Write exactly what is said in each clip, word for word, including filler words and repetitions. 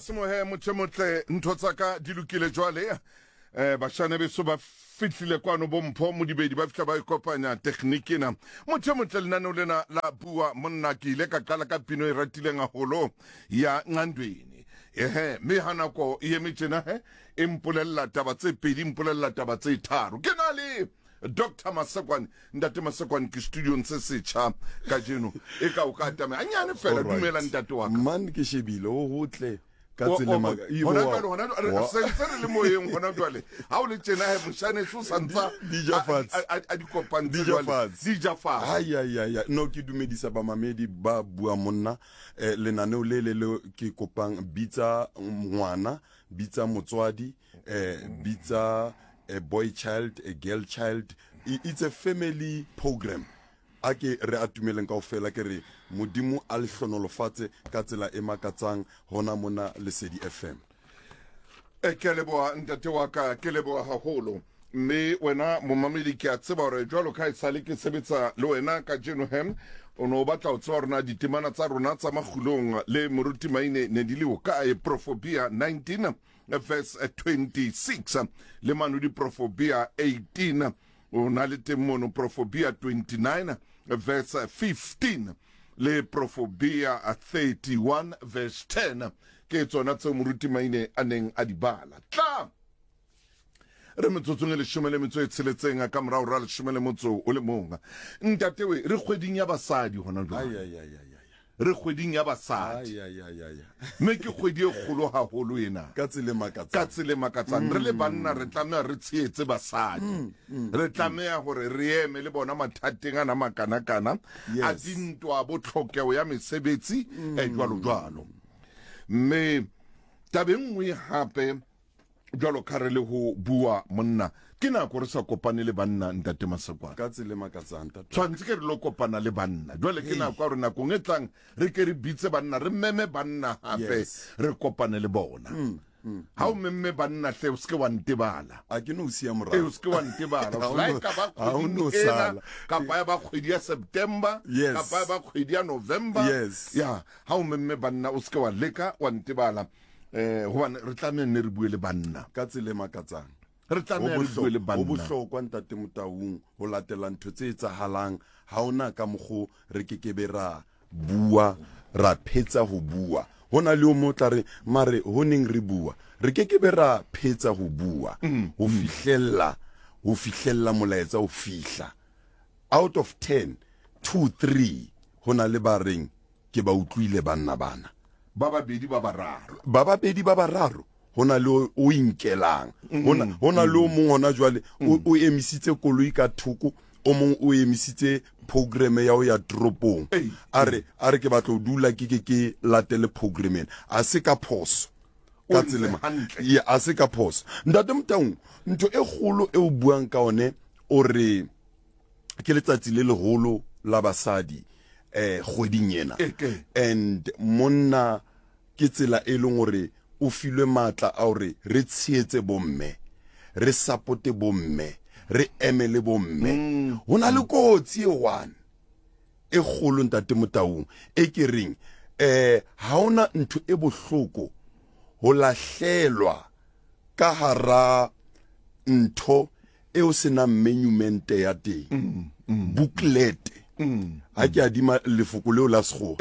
Semohe motho motle ntho tsa ka di lokile jwale eh bashane beso ba fihlile kwano bompho modibedi ba fihla ba ikopanya tekgniki ena motho motle lenaneo lena la bua monna ke ile ka qala ka pino e ratileng haholo ya Nqandweni ehe mme ha nako e eme tjena he e mpolella taba tse pedi mpolella taba tse tharo ke na le Doctor Masekwane ntate Masekwane ke studiong se setjha kajeno e ka o ka atamela hanyane fela dumela ntate wa ka man ke shebile o hotle ka tsela hona jwale hona re sentse re le moyeng hona jwale ha o le tjena he moshane so santsa a di kopantse jwale di ja fatshe ai ai ai no ke dumedisa ba mamedi ba bua monna eh, lenaneo le le le ke kopang bitsa ngwana bitsa motswadi eh, bitsa a boy child, a girl child. It's a family program. A ke re atumeleng kaofela ke re modimo a le hlonolofatse ka tsela e makatsang hona mona Lesedi F M. E ke leboha ntate wa ka, ke leboha haholo. Mme wena momamedi ke a tseba hore jwalo ka esale ke sebetsa le wena kajeno hem o no batla ho tseba rona ditemana tsa rona tsa makgulong le moruti Maine ne di le hokae. Proverbia nineteen verse twenty-six le mano di Proverbia eighteen o na le teng mono Proverbia twenty-nine verse fifteen le Proverbia thirty-one verse ten ke tsona tseo moruti Maine a neng a di bala. Tla re metsotsong e leshome le metso e tsheletseng ka morao ra leshome le motso o le mong. Ntate we re kgweding ya basadi hona jwale. Ai ai ai ai re kgweding ya basadi. Ai ai ai mme ke kgwedi e kgolo haholo ena. Ka tsela e makatsang. Ka tsela e makatsang. Re le banna re tlameha re tshehetse basadi. Re tlameha hore re eme le bona mathateng ana makanakana a dintwa bo tlhokeho ya mesebetsi e jwalo jwalo. Mme tabeng nngwe hape jwalo ka re le ho bua monna ke nako re sa kopane le banna ntate Masekwane. Ka tsela e makatsang ntate. Tshwantse ke re lo kopana le banna. Jwale ke nako ya hore nakong e tlang re ke re bitse banna re meme banna hape re kopane le bona. Ha o memme banna hle o se ke wa ntebala. A ke no siya morao. E o se ke wa ntebala. La e ka ba kgwedi ena kapa ya ba kgwedi ya September kapa ya ba kgwedi ya November. Ya ha o memme banna o se ke wa leka wa ntebala. Eh hobane re tlameha nne re bue le banna ka tsela e makatsang. Re tlameha re bue le banna. Ho bohlokwa ntate Motaung ho latela ntho tse etsahalang ha ona ka mokgo re kekebe ra bua ra phetsa ho bua. Hona le o mo tla re mare ho neng re bua re kekebe ra phetsa ho bua ho fihlella ho fihlella molaetsa ho fihla out of ten two three hona le ba reng ke ba utlwile banna bana ba babedi ba bararo ba babedi ba bararo hona le o inkelang hona hona le o mong hona jwale o emisitse koloi ka thoko o mong o emisitse program ya ho ya toropong a re a re ke batla ho dula ke ke ke latele program ena a se ka phoso ka tsela ya a se ka phoso ntate Motaung ntho e kgolo e o buang ka one o re ke letsatsi le leholo la basadi eh kgweding ena and monna ke tsela e leng hore o filwe matla a hore re tshehetse bomme re supporte bomme re emele bomme hona le kotsi e one e kgolo ntate Motaung e ke reng eh ha ona ntho e bohloko ho lahlelwa ka hara ntho e o senang monument ya teng booklet ha ke adima lefoko leo la sekgowa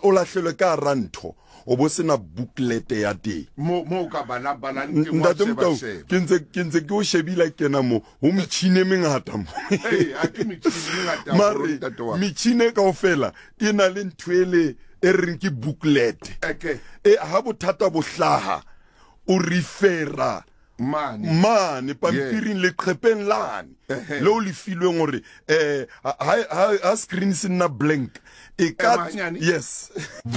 o lahlelwe ka hara ntho o bo sena booklet ya teng mo mo ka bala balang teng wa sheba sheba ke ntse ke ntse ke o shebile kena mo ho metjhine mengata mo eh a ke metjhine mengata mare metjhine kaofela e na le ntho ele e reng ke booklet e ha bothata bo hlaha o refera mane mane pampiring le qhepeng lane le o le filweng hore eh ha ha screen se nna blank e ka yes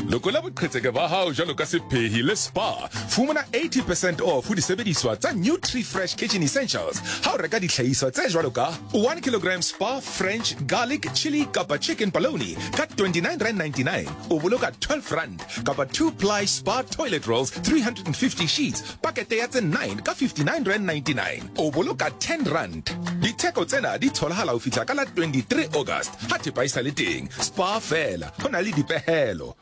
Lokola boqhetseke ba hao jwalo ka sephehi le spa fumana eighty percent off ho disebediswa tsa Nutri Fresh Kitchen Essentials ha o reka dihlahiswa tse jwalo ka one kilogram spa French garlic chili kapa chicken polony ka twenty-nine rand ninety-nine o boloka twelve rand kapa two ply spa toilet rolls three hundred and fifty sheets pakete ya tse nine ka fifty-nine rand ninety-nine o boloka ten rand. Ditheko tsena di tholahala ho fihla ka la twenty-three August ha thepa e sa le teng. Spa fela ho na le dipehelo.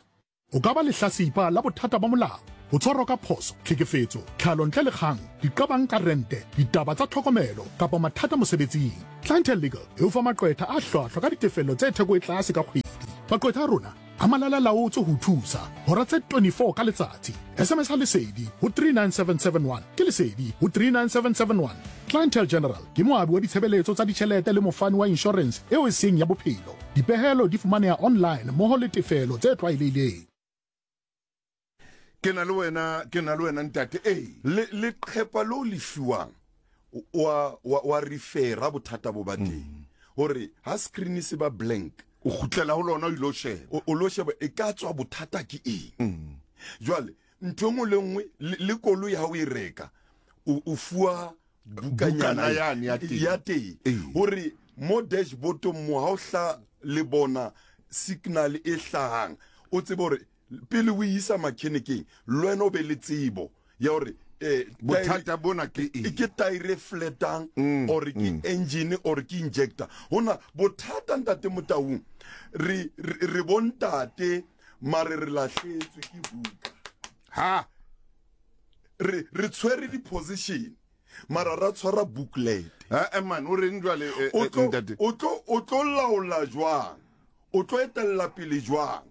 O ka ba lehlasipa la bothata ba molao. Ho tshwarwa ka phoso, tlhekefetso, tlhalo ntle le kgang, diqabang ka rente, ditaba tsa tlhokomelo kapa mathata mosebetsing. Clientele Legal e o fa maqwetha a hlwahlwa ka ditefello tse theko e tlase ka kgwedi. Maqwetha a rona a malala laotswe ho thusa hora tse twenty-four ka letsatsi. S M S ha Lesedi ho three nine seven seven one ke Lesedi ho three nine seven seven one. Clientele General ke moabi wa ditshebeletso tsa ditjhelete le mofani wa insurance eo e seng ya bophelo. Dipehelo di fumaneha online mmoho le tefelo tse tlwaelehileng. Ke na le wena, ke na le wena ntate. Eh, le le qhepa lo le fiwang wa wa wa refera bothata bo ba teng. Hore ha screen se ba blank, o kgutlela ho lona o ilo sheba. O lo sheba e ka tswa bothata ke eng. Jwale ntho engwe le nngwe le koloi ha o e reka o fuwa bukanyana ya teng hore mo dashboard mo ha o hla le bona signal e hlahang o tsebe hore pele o isa mechanic-eng le wena o be le tsebo ya hore eh bothata bona ke eng, ke tire flatang or ke engine or ke injector. Hona bothata ntate Motaung re re bontate mare re lahletswe ke buka ha re re tshwere di position mara ra tshwara booklet. Ha man o reng jwale ntate o tlo o tlo laola jwang, o tlo etella pele jwang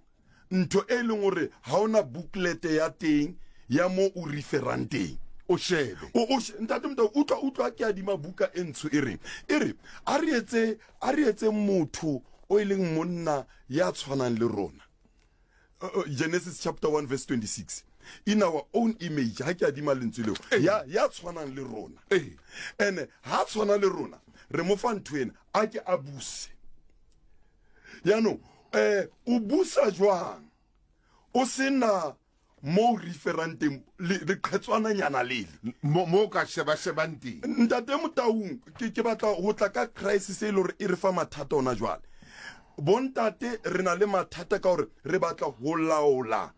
ntho e leng hore ha ona booklet ya teng ya mo o referang teng o shebe o o ntate Motau utlwa utlwa ke adima buka e ntsho e reng e re a re etse a re etse motho o e leng monna ya tshwanang le rona. Genesis chapter one verse twenty-six, in our own image. Ha ke adima lentswe leo ya ya tshwanang le rona ene ha tshwana le rona re mo fa ntho ena a ke a buse. Yaanong eh o busa jwang o sena mo referang teng le qhetswana nyana lele mo mo ka sheba shebang teng. Ntate Motaung ke ke batla ho tla ka crisis e le hore e re fa mathata ona jwale. Bontate re na le mathata ka hore re batla ho laola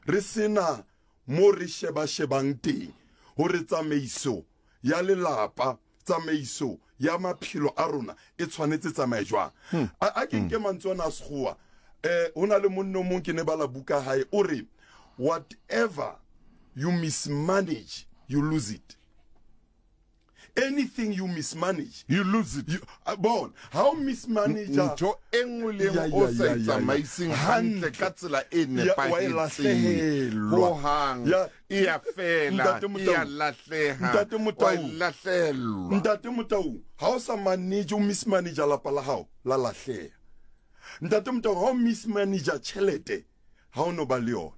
re sena mo re sheba shebang teng hore tsamaiso ya lelapa, tsamaiso ya maphelo a rona e tshwanetse tsamaye jwang. A ke nke mantswe ana a sekgowa eh hona le monno mong ke ne bala buka hae o re whatever you mismanage, you lose it. Anything you mismanage, you lose it. You, uh, bon, how mismanage ntho e nngwe le nngwe o sa tsamaiseng hantle ka tsela e nepahetseng ho hang e ya fela, e ya lahleha. Ntate Motau, lahlelwa. Ntate Motau, ha o sa manage o mismanage lapa la hao la lahleha. Ntate Motau, ha o mismanage tjhelete ha o no ba le yona.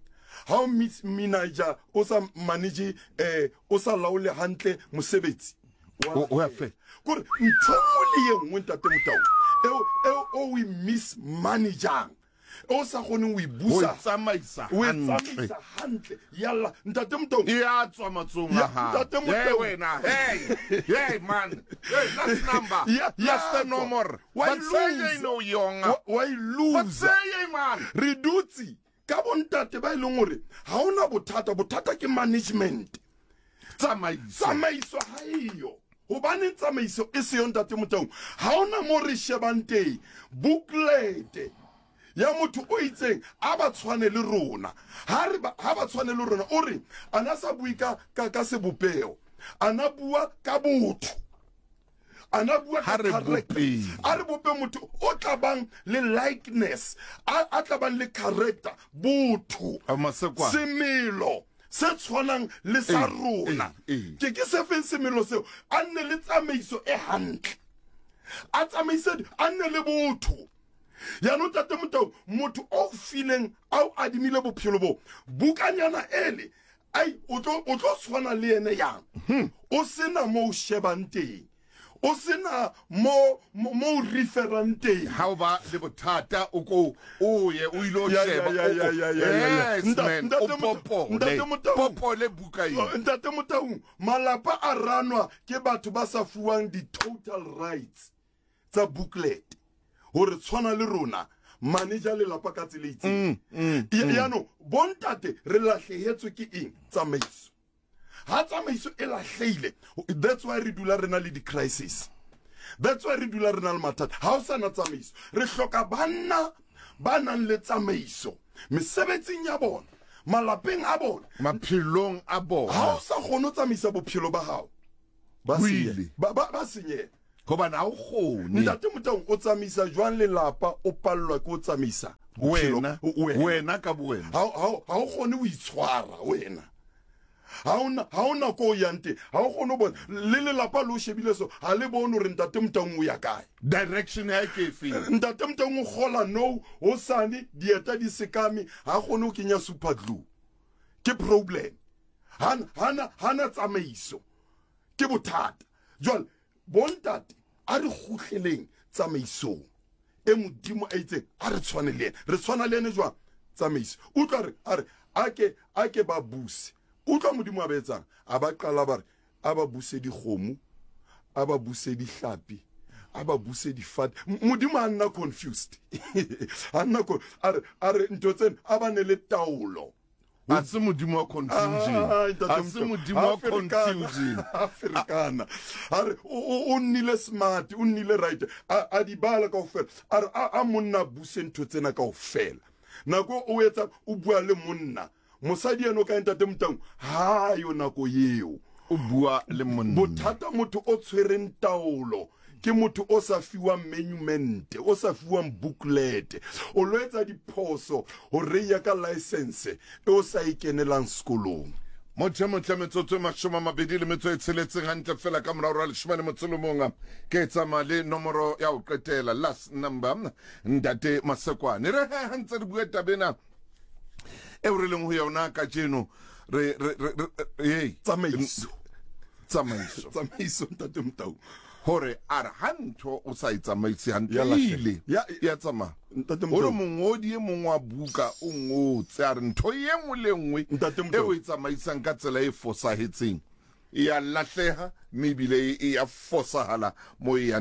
Ha o mismanage o sa manage eh o sa laole hantle mosebetsi o ya fe. Kore ntho nngwe le ye nngwe ntate Motau eo eo o e mismanaging o sa kgoneng ho e busa, o tsamaisa o tsamaisa hantle yalla ntate Motau e a tswa matsong a hao. Ntate Motau wena, hey hey man, hey last number, last number, why lose no yonga, why lose say man re dutse ka bontate ba ileng hore ha ona bothata, bothata ke management, tsamaiso tsamaiso ha eyo. Hobane tsamaiso e se yo ntate Motau ha ona mo re shebang teng booklet ya motho o itseng a ba tshwane le rona. Ha re ha ba tshwane le rona o re ana sa bue ka ka ka sebopeho, ana bua ka botho, ana bua ka character. A re bope motho o tla bang le likeness, a a tla bang le character, botho, semelo se tshwanang le sa rona. Ke ke se feng semelo seo? A nne le tsamaiso e hantle, a tsamaise, a nne le botho. Yaanong ntate Motau motho o fileng a o adimile bophelo bo bukanyana ele ai o tlo o tlo tshwana le yene yang o sena mo o shebang teng, o sena mo mo referang teng. Ha o ba le bothata o ko o ye o ile o sheba. Yes man, o popole popole buka eo. Ntate Motau malapa a ranwa ke batho ba sa fuwang di total rights tsa booklet hore tshwana le rona manager lelapa ka tsela e itseng. Yaanong bontate re lahlehetswe ke eng? Tsamaiso. Ha tsamaiso e lahlehile, that's why re dula re na le di-crisis, that's why re dula re na le mathata. Ha o sana tsamaiso, re hloka banna ba nang le tsamaiso mesebetsing ya bona, Malapeng a bona, maphelong a bona. Ha o sa kgone ho tsamaisa bophelo ba hao, ba senyeha. Ba ba ba senyeha. Hobane ha o kgone. Ntate Motaung, o tsamaisa jwang lelapa, o pallwa ke ho tsamaisa wena, wena ka bowena. Ha ha o kgone ho itshwara wena. Ha ona ha ona ko yang teng, ha o kgone ho bona le lelapa le o shebile so, ha le bone hore ntate Motaung o ya kae. Direction ya ke efe? Ntate Motaung o kgola no, o sane dieta di sekame, ha kgone ho kenya super glue. Ke problem. Hana hana hana tsamaiso. Ke bothata. Jwale bontate a re kgutleleng tsamaisong e Modimo a itseng a re tshwane le yena. Re tshwana le yena jwang? Tsamaiso. Utlwa re a re a ke a ke ba buse. Utlwa Modimo a ba etsang, a ba qala ba re a ba buse dikgomo, a ba buse dihlapi, a ba buse difate. Modimo a nna confused. A nna a re a re ntho tsena a ba ne le taolo. A se Modimo wa confusion. A se Modimo wa confusion. A ferekana. A re o nnile smart, o nnile right. A di bala kaofela. A re a monna buse ntho tsena kaofela. Nako o etsa o bua le monna. Mosadi eno ka ntate Motaung ha yo nako eo o bua le monna. Bothata motho o tshwereng taolo ke motho o sa fiwang monument, o sa fiwang booklet, o lo etsa diphoso ho reya ka license e o sa ikenelang sekolong. Motho motle metsotso e mashome a mabedi le metso e tsheletseng hantle fela ka morao ra leshome le motso le mong, ke tsamaya le nomoro ya ho qetela, last number, ntate Masekwane. Re he ha ntse re bua taba ena eo re leng ho yona kajeno, re re re tsamaiso tsamaiso tsamaiso ntate Motaung, hore a re ha ntho o sa e tsamaise hantle ile ya tsamaya. Hore mongodi e mong wa buka o ngotse a re ntho e nngwe le nngwe e o e tsamaisang ka tsela e fosahetseng e ya lahleha, mme ebile e ya fosahala mo e yang.